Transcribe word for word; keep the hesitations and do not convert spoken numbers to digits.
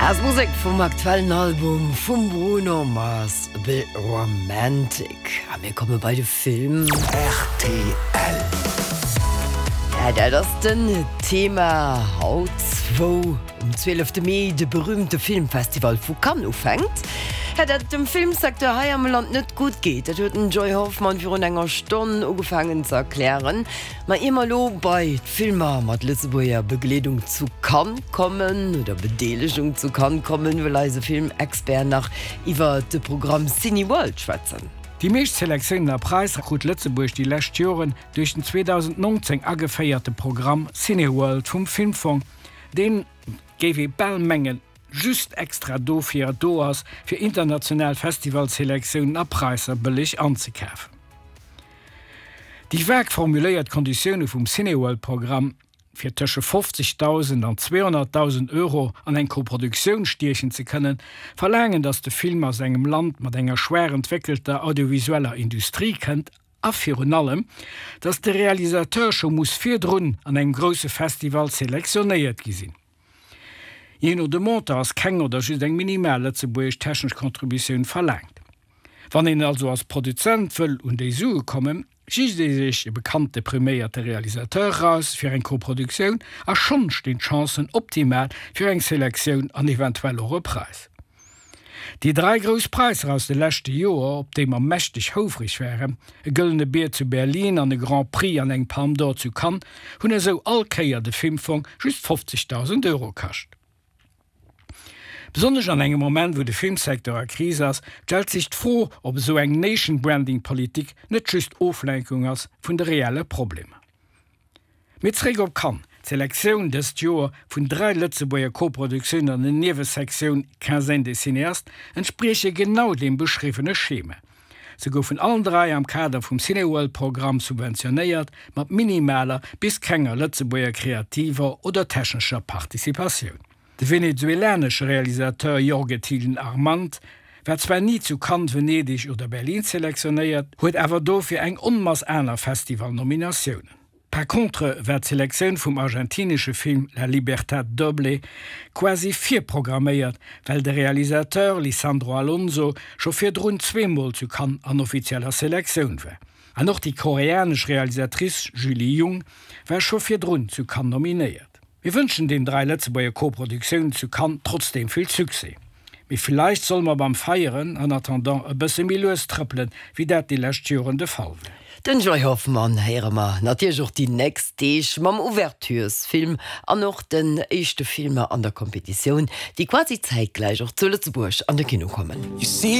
As Musek vum aktuellen Album vum Bruno Mars Be Romantic. A mir komme bei de Film. R T L. Ja, dat ass den Thema haut, wou um zwielefte Mee de berüümte Filmfestival vu Cannes ufänkt. Ja, datt et dem Filmsecteur hei am Land net gutt geet, dat huet den Joy Hoffmann virun enger Stonn ugefaangen ze erklären. Ma ier mer lo bei d'Filmer mat Lëtzebuerger Begleedung zu Cannes kommen oder Bedeelegung zu Cannes kommen, wëll eise Filmexpert nach iwwer de Programm Cineworld schwätzen. Déi meescht Selektiounen a Präisser krut Lëtzebuerg déi lescht Joren duerch den zweedausendnongzéng ageféierte Programm Cineworld vum Filmfong, deen, géif ee bal mengen, just extra dofir do ass, fir international Festivalselektiounen a Präisser bëlleg anzekafen. Déi vag formuléiert Konditioune vum Cineworld-Programm, fir tësche fofzegdausend an zweehonnertdausend Euro an eng Koproduktioun stiechen ze kënnen, verlaangen, datt de Film aus engem Land mat enger schwaach entwéckelter audiovisueller Industrie kënnt a virun allem, datt de Realisateur scho muss virdrun an engem grousse Festival selektionéiert gi sinn. Jee no dem Montant ass keng oder just eng minimal lëtzebuergesch technesch Contributioun verlaangt. Wann een also als Produzent wëll un déi Sue kommen, sicht ee sech e bekannte priméierte Realisateur eraus fir eng Koproduktioun a schonn stinn d'Chancen optimal fir eng Selektioun an eventuell och e Präis. Déi dräi grouss Präisser aus de leschte Joer, op déi mer mächteg houfreg waren, e Gëllene Bier zu Berlin an e Grand Prix an eng Palme d'Or zu Cannes, hunn esou all Kéier de Filmfong just fofzegdausend Euro kascht. Besonnesch an engem Moment, wou de Filmsecteur a Kris ass, stellt sech d'Fro, ob esou eng Nation-Branding-Politik net just Oflenkung ass vun de reelle Problemer. Mee zréck op Cannes, D'Selektioun dëst Joer vun dräi Lëtzebuerger Koproduktiounen an der Niewesektioun Quinzaine des cinéastes entsprieche genau deem beschriwwene Schema. Se goufen allen dräi am Kader vum Cineworld-Programm subventionéiert, mat minimaler bis kenger Lëtzebuerger kreativer oder technescher Participatioun. De venezuelanesche Realisateur Jorge Thielen Armand war zwar ni zu Cannes, Venedeg oder Berlin selektionéiert, huet awer dofir eng Onmass aner Festivalnominatiounen. Par contre war d'Selektioun vum argentinesche Film La Libertad Doble quasi virprogramméiert, well de Realisateur Lisandro Alonso scho virdrun zweemol zu Cannes an offizieller Selektioun war. An och déi koreanesch Realisatrice Julie Jung war scho virdrun zu Cannes nominéiert. Mir wënschen den dräi Lëtzebuerger Koproduktiounen zu Cannes trotzdeem vill Succès. Mee villäicht solle mer beim Feieren en attendant e bësse méi lues trëppelen, wéi dat déi lescht Joren de Fall war. Den Joy Hoffmann héiere mer natierlech och déi nächst Deeg mam Ouverturesfilm an och den éischte Filmer an der Kompetitioun, déi quasi zäitgläich och zu Lëtzebuerg an de Kino kommen. You see